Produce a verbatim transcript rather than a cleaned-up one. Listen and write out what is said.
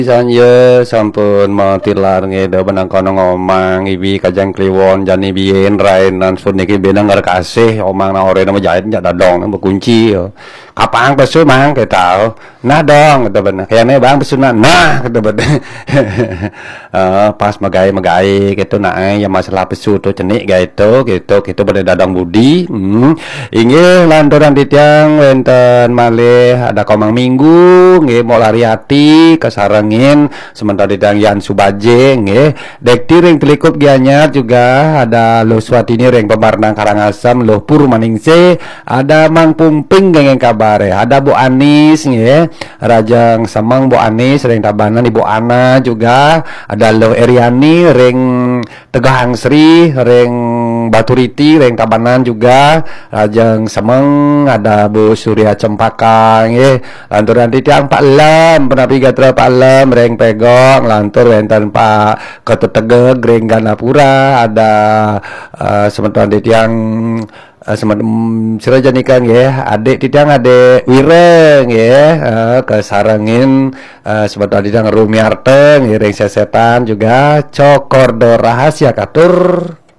Sanja sampun matilar nggih, da benang kono ngomang ibi kajang kliwon jani biyen rainan sun niki benang ngar kasih omang na ore nama jait jak dadong nang bekunci ya. Kapang pesu mang kita. Nah dong kita benang. Kayaknya bang pesu nah, nah kita benang. Eh, pas megai-megai gitu nah, eh, ya masalah pesu tu cenik gitu gitu gitu pada dadong budi. Hmm. Inggih lanturan titiang wenten malih ada komang minggu nggih mau lari hati kesarengin sementara titiang Yan Subaje nggih. Dekti ring Telikup Gianyar juga ada Luh Swatini ring Pemarnang Karangasem, Luh Purmaningsih, ada Mang Pumping gengeng kabare, ada Bu Anis nggih. Rajang Semeng Bu Anis ring Tabanan, Ibu Ana juga, ada Luh Eriani ring Tegal Sri ring Baturiti ring Tabanan juga. Rajang Semeng ada Bu Surya Cempaka nggih. Lanturan titiang Pak Lem, penapi gatra Pak Lem ring Pegong, lantur wenten Pak Ketut Tegeg ring Ganapura, ada eh, semeton titiang eh, semeton sira janika nggih, adik titiang adik Wira nggih, eh, kesarengin eh, semeton titiang Rumiarta nggih ring Sesetan juga. Cokordo rahasia katur.